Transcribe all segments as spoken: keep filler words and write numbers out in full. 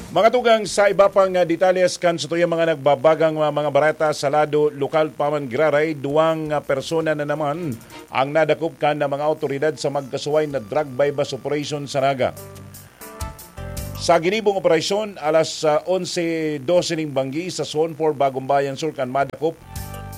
Mga tugang, sa iba pang, ah, detalles kan satuyang mga nagbabagang, ah, mga bareta sa lado lokal pa man giraray, duwang, ah, persona na naman ang nadakop kan, ah, mga awtoridad sa magkasuway na drug buy-bust operation sa Naga. Sa ginibong operasyon, alas, ah, onse dose ning banggi sa Zone four, Bagong Bayan Sur, kan madakop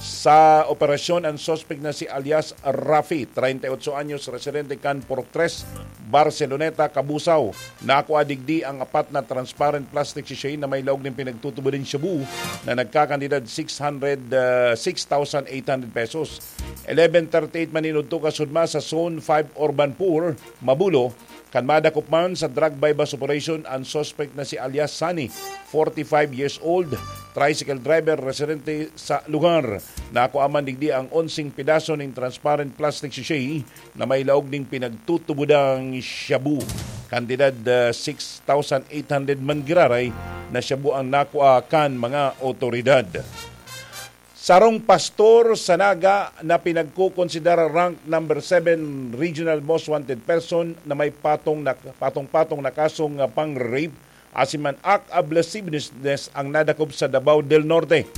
sa operasyon ang suspek na si alias Rafi, treinta y ocho anyos, residente kan Purok tres, Barceloneta, Cabusao. Nakua digdi ang apat na transparent plastic sachet na may laog nin pinagtutubod nin shabu na nagkakantidad six hundred, ah, six thousand eight hundred pesos. Eleven thirty-eight maninudto kasudma sa Zone five Urban Poor, Mabulo, kan madakop man sa drug buy-bust operation ang suspect na si alias Sunny, forty-five years old, tricycle driver, residente sa lugar. Nakua man digdi ang onseng pedaso nin transparent plastic sachet na may laog ning pinagtutubodang shabu. Kantidad, ah, six thousand eight hundred man giraray na shabu ang nakua kan mga otoridad. Sarong pastor sa Naga na pinagkukonsidera rank number seven regional most wanted person na may patong na, patong-patong na kasong, ah, pang-rape asin man act of lasciviousness ang nadakop sa Davao del Norte.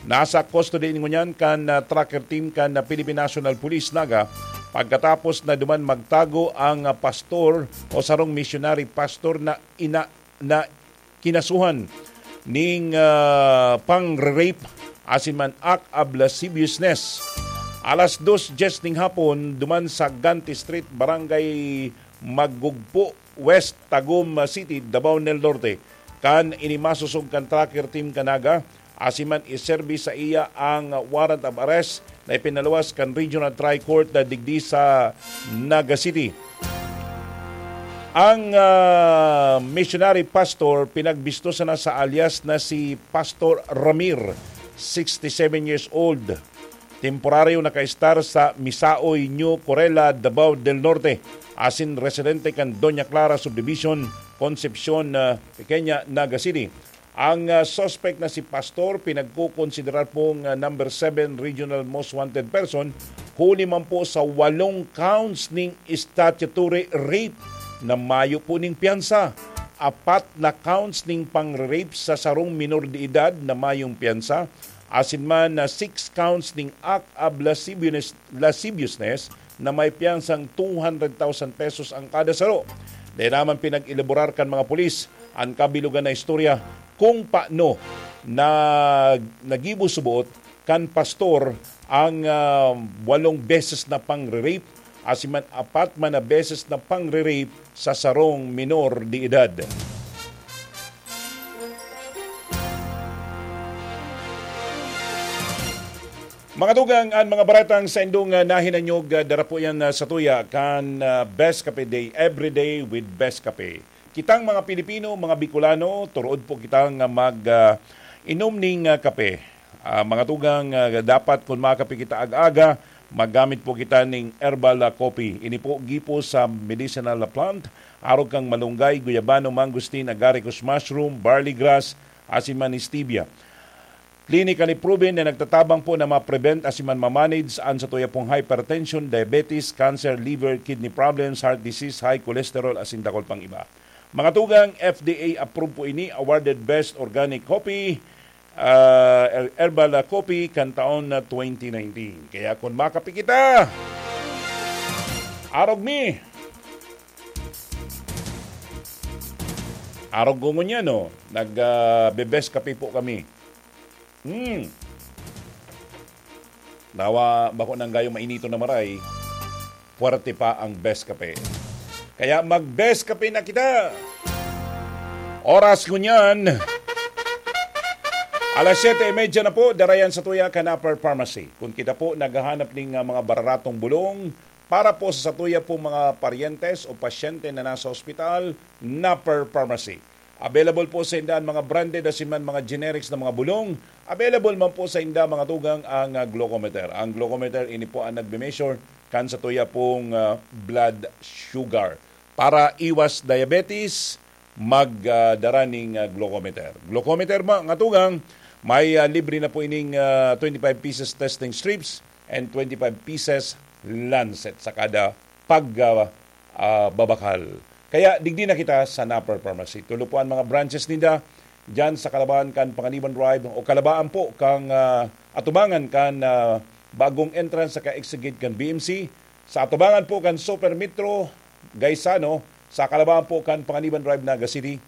Nasa custody ngunyan kan, ah, tracker team kan, ah, Philippine National Police, Naga, pagkatapos na duman magtago ang, ah, pastor o sarong missionary pastor na ina-, na kinasuhan ning, ah, pang-rape asin man act of lasciviousness. Alas dos dyes ning hapon, duman sa Ganti Street, Barangay Magugpo West, Tagum City, Davao del Norte, kan ini masosog kan tracker team kan Naga, asin man iserbi sa iya ang warrant of arrest na ipinaluwas kan Regional Tri-Court na digdi sa Naga City. Ang, ah, missionary pastor pinagbisto sana sa alias na si Pastor Ramir, sixty-seven years old. Temporaryo nakaestar sa Misaoy, New Corella, Davao del Norte, asin residente kan Doña Clara Subdivision, Concepcion, ah, Pequeña, Naga City. Ang, ah, suspect na si Pastor pinagkukonsiderar pong, ah, number seven regional most wanted person, huli man po sa walong counts ning statutory rape na mayo po ning piyansa, apat na counts ning pang-rape sa sarong minor de edad na mayong piyansa, asin man na six counts ning act of lasciviousness, lasciviousness na may piyansang two hundred thousand pesos ang kada saro. Dai naman pinag-elaborar kan mga pulis an kabilugan na istorya kung paano na nagibo suboot kan pastor ang, ah, walong beses na pang-rape, asin man apat man na beses na pang-rape sa sarong minor de edad. Mga tugang, an mga baretang saindong, ah, nahinanyog, ah, dara po yan, ah, satuya kan, ah, Best Kape Day, every day with Best Kape. Kitang mga Pilipino, mga Bicolano, turood po kitang, ah, mag, ah, inom ning, ah, kape. Ah, mga tugang, ah, dapat kun makape kita aga-aga, maggamit po kita ning herbal, ah, coffee. Ini po gipo sa medicinal plant, arog kan malunggay, guyabano, mangosteen, agaricus mushroom, barley grass, asin man stevia. Clinically proven na nagtatabang po na ma-prevent asin man ma-manage an satuya pong hypertension, diabetes, cancer, liver, kidney problems, heart disease, high cholesterol, asin dakul pang iba. Mga tugang, F D A approved po ini, awarded Best Organic Coffee, ah, Her-, Herbal Coffee kan taon na twenty nineteen. Kaya kun makape kita, arog mi! Arog ko ngunyan, no? Nag, ah, be-best kape po kami. Hmm. Nawa, bako nang gayo mainiton na maray, puwerte pa ang Best Kape. Kaya mag-Best Kape na kita! Oras ngunyan, alas siyete y media na po, darayan sa tuya kan Upper Pharmacy. Kung kita po naghahanap ning, ah, mga bararatong bulong para po sa satuya pong mga paryentes o pasyente na nasa ospital, Upper Pharmacy. Available po sa inda ang mga branded asin man mga generics na mga bulong. Available man po sa inda, mga tugang, ang, ah, glucometer. Ang glucometer, ini po ang nagme-measure kan satuya pong, ah, blood sugar. Para iwas diabetes, mag, ah, dara ning, ah, glucometer. Glucometer, mga tugang, may, ah, libre na po ining, ah, twenty-five pieces testing strips and twenty-five pieces lancet sa kada pag, ah, ah, babakal. Kaya digdi na kita sa Napper Pharmacy. Tulo po ang mga branches ninda dyan sa kalabaan kan Panganiban Drive o kalabaan po kang ah, atubangan kan ah, bagong entrance sa ka-exit gate kan B M C. Sa atubangan po kan Super Metro Gaisano, sa kalabaan po kan Panganiban Drive, Naga City.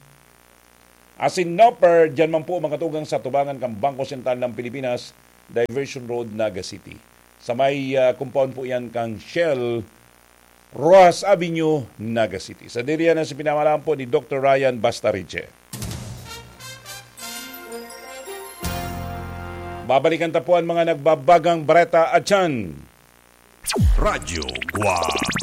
Asin Napper, dyan man po makatugang sa atubangan kan Bangko Sentral ng Pilipinas, Diversion Road, Naga City. Sa may ah, compound po yan kang Shell, Rojas Avenue, Naga City. Sa diriyan na si pinamalaan po ni Doktor Ryan Bastariche. Babalikan ta po ang mga nagbabagang bareta at yan. Radyo Guwang.